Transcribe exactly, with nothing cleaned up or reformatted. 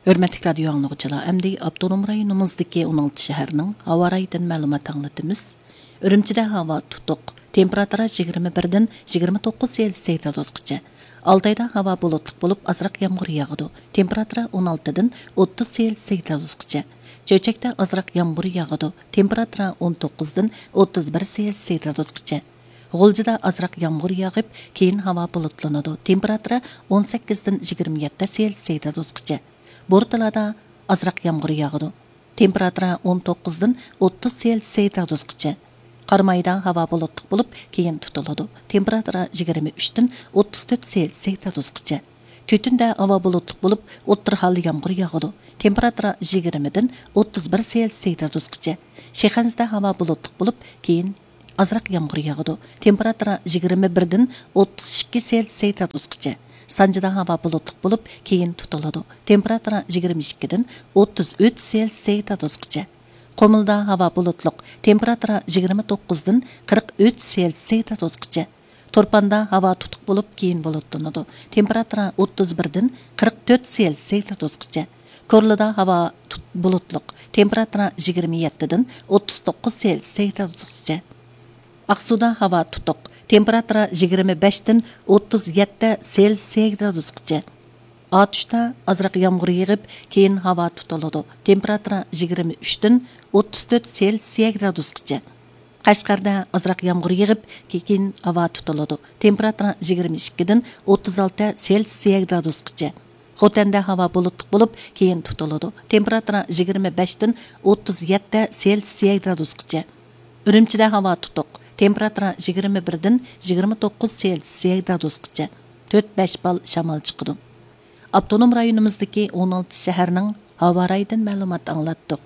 ھۆرمەتلىك رادىيو ئاڭلىغۇچىلار، ئەمدى ئاپتونوم رايونىمىزدىكى ئون ئالتە شەھەرنىڭ ھاۋا رايىدىن مەلۇمات ئاڭلىتىمىز. ئۈرۈمچىدە ھاۋا تۇتۇق، تېمپېراتۇرا يىگىرمە بىردىن يىگىرمە توققۇز سېلسىيە گرادۇسقىچە. ئالتايدا ھاۋا بۇلۇتلۇق بولۇپ، ئازراق يامغۇر ياغىدۇ، تېمپېراتۇرا ئون ئالتىدىن ئوتتۇز سېلسىيە گرادۇسقىچە. چۆچەكتە ئازراق يامغۇر ياغىدۇ، تېمپېراتۇرا ئون توققۇزدىن ئوتتۇز بىر سېلسىيە گرادۇسقىچە. غۇلجىدا ئازراق يامغۇر ياغىپ، كېيىن ھاۋا بۇلۇتلىنىدۇ، تېمپېراتۇرا ئون سەككىزدىن يىگىرمە يەتتە سېلسىيە گرادۇسقىچە. بورتالادا ئازراق يامغۇر ياغىدۇ، تېمپېراتۇرا ئون توققۇزدىن ئوتتۇز سېلسىيە گرادۇسقىچە. قارامايدا ھاۋا بۇلۇتلۇق بولۇپ، كېيىن تۇتۇلىدۇ، تېمپېراتۇرا يىگىرمە ئۈچتىن ئوتتۇز تۆت سېلسىيە گرادۇسقىچە. تۈتۈندە ھاۋا بۇلۇتلۇق بولۇپ، ئوتتۇرا ھالدا يامغۇر ياغىدۇ، تېمپېراتۇرا يىگىرمىدىن ئوتتۇز بىر سېلسىيە گرادۇسقىچە. شىخەنزىدە ھاۋا بۇلۇتلۇق بولۇپ، كېيىن ئازراق يامغۇر ياغىدۇ، تېمپېراتۇرا يىگىرمە بىردىن ئوتتۇز ئىككى سېلسىيە گرادۇسقىچە. سانجىدا ھاۋا بۇلۇتلۇق بولۇپ، كېيىن تۇتۇلىدۇ، تېمپېراتۇرا يىگىرمە ئىككىدىن ئوتتۇز ئۈچ سېلسىيە گرادۇسقىچە. قۇمۇلدا ھاۋا بۇلۇتلۇق، تېمپېراتۇرا يىگىرمە توققۇزدىن قىرىق ئۈچ سېلسىيە گرادۇسقىچە. تۇرپاندا ھاۋا تۇتۇق بولۇپ، كېيىن بۇلۇتلىنىدۇ، تېمپېراتۇرا ئوتتۇز بىردىن قىرىق تۆت سېلسىيە گرادۇسقىچە. كورلىدا ھاۋا تۇت-، بۇلۇتلۇق، تېمپېراتۇرا يىگىرمە يەتتىدىن ئوتتۇز توققۇز سېلسىيە گرادۇسقىچە. ئاقسۇدا ھاۋا تۇتۇق، تېمپېراتۇرا يىگىرمە بەشتىن ئوتتۇز يەتتە سېلسىيە گرادۇسقىچە. ئاتۇشتا ئازراق يامغۇر يېغىپ، كېيىن ھاۋا تۇتۇلىدۇ، تېمپېراتۇرا يىگىرمە ئۈچتىن ئوتتۇز تۆت سېلسىيە گرادۇسقىچە. قەشقەردە ئازراق يامغۇر يېغىپ، كېيىن ھاۋا تۇتۇلىدۇ، تېمپېراتۇرا يىگىرمە ئىككىدىن ئوتتۇز ئالتە سېلسىيە گرادۇسقىچە. خوتەندە ھاۋا بۇلۇتلۇق بولۇپ، كېيىن تۇتۇلىدۇ، تېمپېراتۇرا يىگىرمە بەشتىن ئوتتۇز يەتتە سېلسىيە گرادۇسقىچە. ئۈرۈمچىدە ھاۋا تۇتۇق، تېمپېراتۇرا يىگىرمە بىردىن يىگىرمە توققۇز سېلسىيە گرادۇسقىچە. تۆت بەش بال شامال چىقىدۇ. ئاپتونوم رايونىمىزدىكى ئون ئالتە شەھەرنىڭ ھاۋا رايىدىن مەلۇمات ئاڭلاتتۇق.